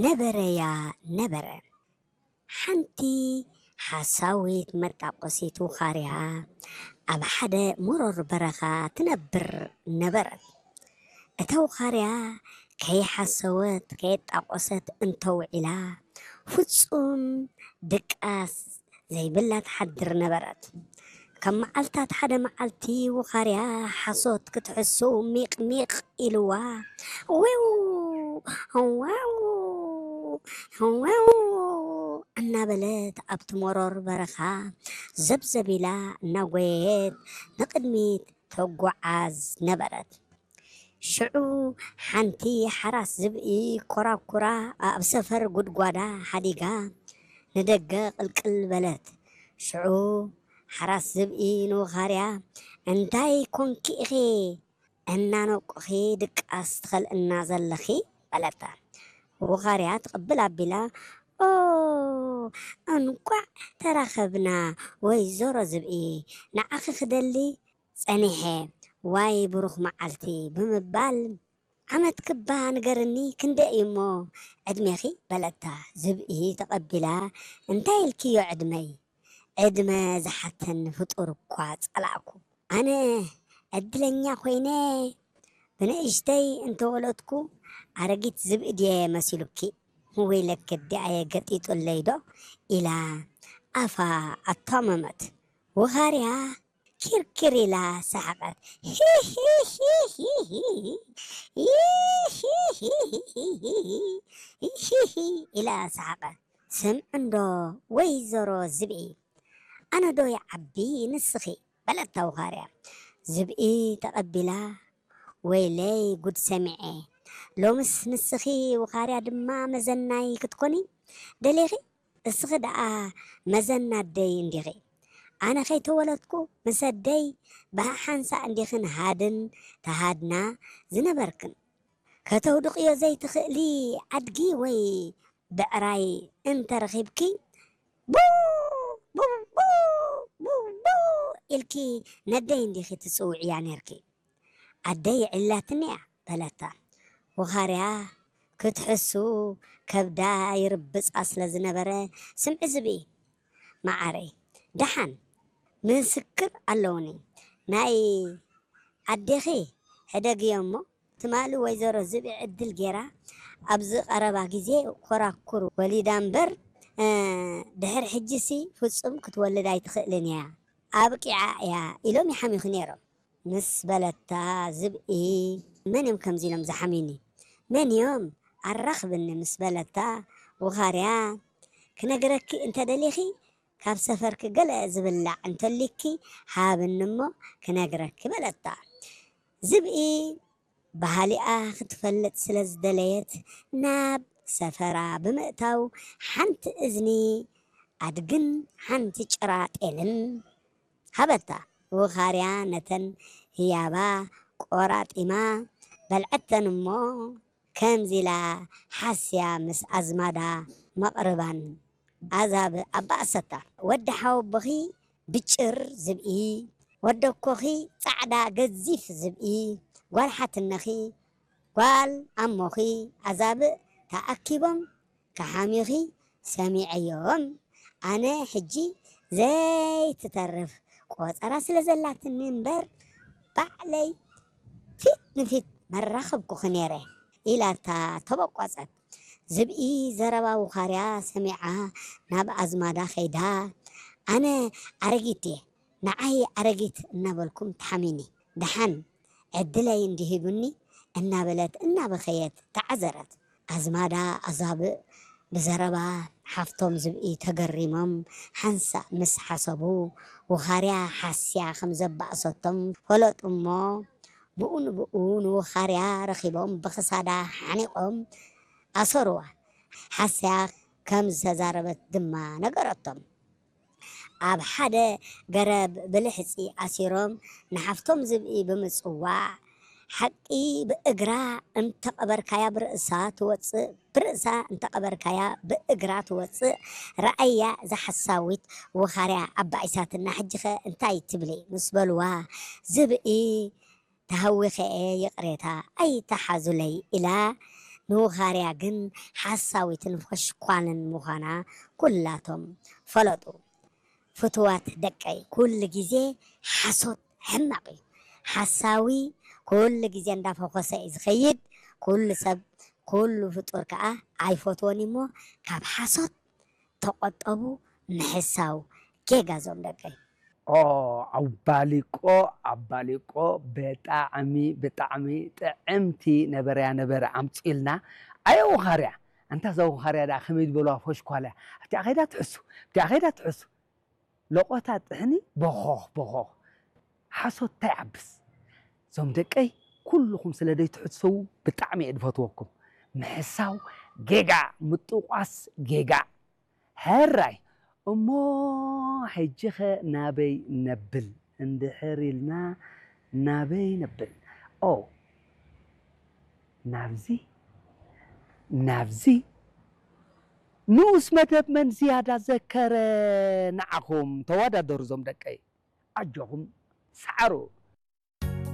ነበረያ ነበረ። ሓንቲ ሓሳዊት መጣቆሲት ውኻርያ ኣብ ሓደ መሮር በረኻ ትነብር ነበረት። እታ ውኻርያ ከይሓሰወት ከየጣቆሰት እንተውዒላ ፍጹም ድቃስ ዘይብላ ትሓድር ነበረት። ካብ መዓልታት ሓደ መዓልቲ ውኻርያ ሓሶት ክትሕሱ ሚቕ ሚቕ ኢልዋ፣ ዊው ዋው ዋው እናበለት ኣብቲ መሮር በረኻ ዘብዘብ ኢላ እናጎየየት ንቕድሚት ትጓዓዝ ነበረት። ሽዑ ሓንቲ ሓራስ ዝብኢ ኮራኩራ ኣብ ሰፈር ጉድጓዳ ሓዲጋ ንደገ ቅልቅል በለት። ሽዑ ሓራስ ዝብኢ ንውኻርያ፣ "እንታይ ኮንኪ ኢኺ እናነቁኺ ድቃስ ትኸልእና ዘለኺ?" በለታ። ውኻርያ ትቕብል ኣቢላ፣ "ኦ፣ እንቋዕ ተራኸብና ወይዘሮ ዝብኢ፣ ንዓኺ ክደሊ ጸኒሐ፣ ዋይ ብሩኽ መዓልቲ" ብምባል፣ "ዓመት ክባ ንገርኒ ክንደይ እዩ'ሞ ዕድሜኺ?" በለታ። ዝብኢ ተቐቢላ፣ "እንታይ ኢልክዮ ዕድመይ? ዕድመ ዝሓተኒ ፍጡር እኳ ጸላእኩ። ኣነ ዕድለኛ ኮይነ ብንእሽተይ እንተወለድኩ ኣረጊት ዝብኢ ድየ መሲሉኪ? ወይለኪ ኣዲኣየ ገጢጡለይ ዶ?" ኢላ ኣፋ ኣቷመመት። ውኻርያ ኪርኪር ኢላ ሰሓቐት። "ሂሂሂሂሂ፣ ሂሂሂሂሂ" ኢላ ሰሓቐት። "ስምዒ እንዶ ወይዘሮ ዝብኢ፣ ኣነ ዶ ይዓቢ ንስኺ?" በለታ ውኻርያ። ዝብኢ ተቐቢላ፣ "ወይለይ ጉድ ሰሚዐ፣ ሎምስ ንስኺ ውኻርያ ድማ መዘናይ ክትኮኒ ደሊኺ? እስኺ ደኣ መዘና ኣደይ እንዲኺ። ኣነ ከይተወለድኩ ምስ ኣደይ ብሓሓንሳእ እንዲኽን ሃድን ተሃድና ዝነበርክን። ከተውድቕዮ ዘይትኽእሊ ኣድጊ ወይ ብዕራይ እንተረኺብኪ፣ ቡ፣ ቡ፣ ቡ፣ ቡ፣ ቡ ኢልኪ ነደይ እንዲኺ ትጽውዕያ ኔርኪ። ኣደይ የዕሊላትኒ እያ" በለታ። ውኻርያ ክትሕሱ ከብዳ ይርብጻ ስለ ዝነበረ፣ "ስምዒ ዝብኢ መዓረይ፣ ደሓን ምስክር ኣለውኒ። ናይ ኣዴኺ ሕደግዮ እሞ፣ ትማሊ ወይዘሮ ዝብኢ ዕድል ጌራ ኣብዚ ቀረባ ግዜ ኮራኩር ወሊዳ እምበር፣ እ፣ ድሕሪ ሕጂሲ ፍጹም ክትወልድ ኣይትኽእልን እያ፣ ኣብቂዓ እያ" ኢሎም ይሓምዩኺ ነይሮም። ምስ በለታ ዝብኢ፣ "መን እዮም ከምዚ ኢሎም ዝሓምዩኒ? መን እዮም ኣራኽብኒ?" ምስ በለታ፣ ውኻርያ፣ "ክነግረኪ እንተደሊኺ፣ ካብ ሰፈርኪ ገለ ዝብላዕ እንተሊኪ ሃብኒ እሞ ክነግረኪ" በለታ። ዝብኢ ባህሊኣ ክትፈልጥ ስለ ዝደለየት፣ ናብ ሰፈራ ብምእታው፣ ሓንቲ እዝኒ ኣድግን ሓንቲ ጭራ ጤልን ሃበታ። ውኻርያ ነተን ህያባ ቆራጢማ በልዐተን እሞ፣ ከምዚ ኢላ ሓስያ ምስ ኣዝማዳ መቕርባን ኣዛብእ ኣባእሰታ። "ወዲ ሓወቦኺ ብጭር ዝብኢ፣ ወዲ ኣኮኺ ጻዕዳ ገዚፍ ዝብኢ፣ ጓል ሓትነኺ፣ ጓል ኣሞኺ ኣዛብእ ተኣኪቦም ክሓምዩኺ ሰሚዐዮም። ኣነ ሕጂ ዘይትተርፍ ቆጸራ ስለ ዘላትኒ እምበር፣ ባዕለይ ፊት ንፊት መራኸብኩኺ ነይረ" ኢላታ ተበቆጸት። ዝብኢ ዘረባ ውኻርያ ሰሚዓ ናብ ኣዝማዳ ከይዳ፣ "ኣነ ኣረጊት እየ፣ ንዓይ ኣረጊት እናበልኩም ትሓምዩኒ፣ ደሓን ዕድለይ እንዲሂቡኒ" እናበለት እናበኸየት ተዓዘረት። ኣዝማዳ ኣዛብእ ብዘረባ ሓፍቶም ዝብኢ ተገሪሞም ሓንሳእ ምስ ሓሰቡ፣ ውኻርያ ሓስያ ከም ዘባእሰቶም ፈለጡ እሞ፣ ብኡ ንብኡ ንውኻርያ ረኺቦም ብኽሳዳ ሓኒቖም ኣሰሩዋ። ሓስያ ከም ዝተዛረበት ድማ ነገረቶም። ኣብ ሓደ ገረብ ብልሕጺ ኣሲሮም ንሓፍቶም ዝብኢ ብምጽዋዕ፣ ሓቂ ብእግራ እንተቐበርካያ ብርእሳ ትወጽእ፣ ብርእሳ እንተቐበርካያ ብእግራ ትወጽእ፣ ረኣያ እዛ ሓሳዊት ውኻርያ ኣባኢሳትና፣ ሕጂኸ እንታይ ትብሊ? ምስ በልዋ፣ ዝብኢ ተሃዊኸ እየ፣ ይቕሬታ ኣይትሓዙለይ ኢላ ንውኻርያ ግን ሓሳዊትን ፈሽኳልን ምዃና ኩላቶም ፈለጡ። ፍትዋት ደቀይ፣ ኩሉ ግዜ ሓሶት ሕማቕ እዩ። ሓሳዊ ኩሉ ግዜ እንዳፈኾሰ እዩ ዝኸይድ። ኩሉ ሰብ፣ ኩሉ ፍጡር ከኣ ኣይፈትዎን እዩ። እሞ ካብ ሓሶት ተቖጠቡ። ምሕሳው ጌጋ ዞም ደቀይ። ኦ ኣባሊቆ ኣባሊቆ ብጣዕሚ ብጣዕሚ ጥዕምቲ ነበረያ ነበረ ኣምፅኢልና። ኣየ ውኻርያ ኣንታ እዛ ውኻርያ ደኣ ከመይ ዝበልዋ ፈሽኳልያ ኣብቲኣ ኸይዳ ትሕሱ ኣብቲኣ ኸይዳ ትሕሱ ለቆታ ጥሕኒ በኾኽ በኾኽ ሓሶት እንታይ ዓብስ። እዞም ደቀይ ኩልኹም ስለ ደይ ትሕሰዉ ብጣዕሚ እየ ድፈትወኩም። ምሕሳው ጌጋ ምጥቋስ ጌጋ። ሕራይ እሞ ሕጂኸ ናበይ ነብል እንድሕር ኢልና ናበይ ነብል? ኦ ናብዚ ናብዚ ንኡስ መደብ መን ዝያዳ ዘከረ? ንዓኹም ተወዳደሩ ዞም ደቀይ ኣጆኹም ሰዓሩ።